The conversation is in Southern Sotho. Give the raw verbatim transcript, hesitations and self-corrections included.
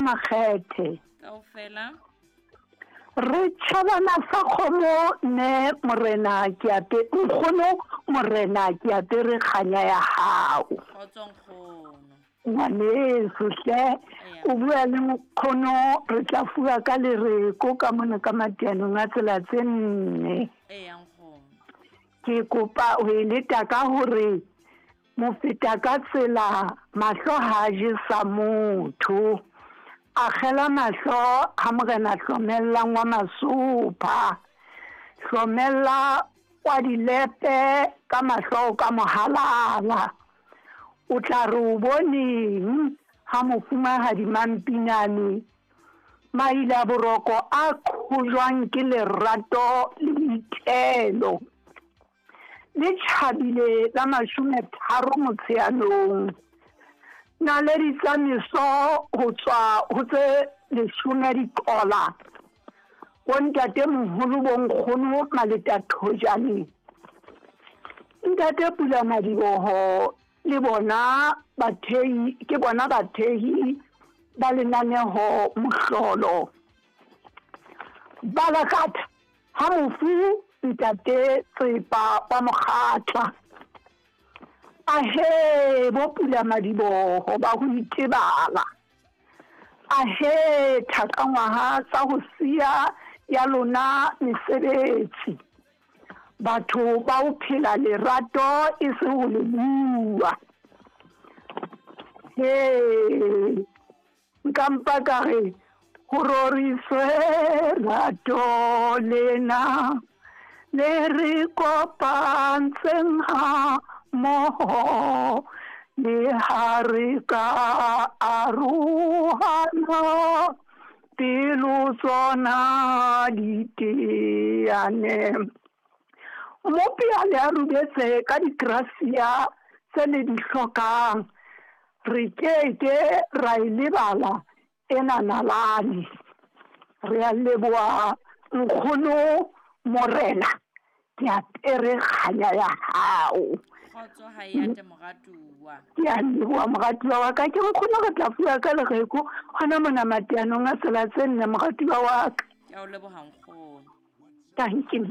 Makgethe. Kaofela. Re tjhabana sa kgomo ne morena ke ape nkgono morena ke apere kganya ya hao. Kgotso nkgono. Ngwaneso hle, o bua le nkgono re tla fuwa ka lereko ka mona ka matianong a tsela tse nne. Eya nkgono. Ke kopa ho e leta ka hore mofeta ka tsela mahlo ha je sa motho. Akgela mahlo ha morena hlomellang wa masopha. Hlomella wa dilepe ka mahlo ka mohalala. O tla re o boneng ha mofumahadi Mampinane maila boroko a qhojwang ke lerato le boitelo. Le tjhabile la mashome tharo Motsheanong. Naledi tsa meso ho tswa ho tse leshome diqola. Bontate moholo bo nkgono Maleta Thojane. Ntate Pula Madiboho le bona bathehi ke bona bathehi ba lenaneho mohlolo. Balakatha ha mofu ntate Tsepa wa Mokgatla. Ahe bo Pula Madiboho ba ho itebala. Ahe thakangwaha tsa ho siya ya lona mesebetsi. Batho ba o phela lerato e se ho le bua. He nka mpa ka re ho roriswe rato lena le re kopantseng ha mmoho le ha re ka arohana pelo tsona di teane. Mmopi a le a rubetse ka digrasia tse le di hlokang. Re keke ra e lebala ena nalane. Re a leboha nkgono morena ke apere kganya ya hao. Kgotso ha e ate moratuwa. Ke a leboha moratuwa wa ka. Ke nkgono re tla fuwa ka lereko hona mona matianong a tsela tse nne moratuwa wa ka. Ke a o leboha nkgono. Thank you.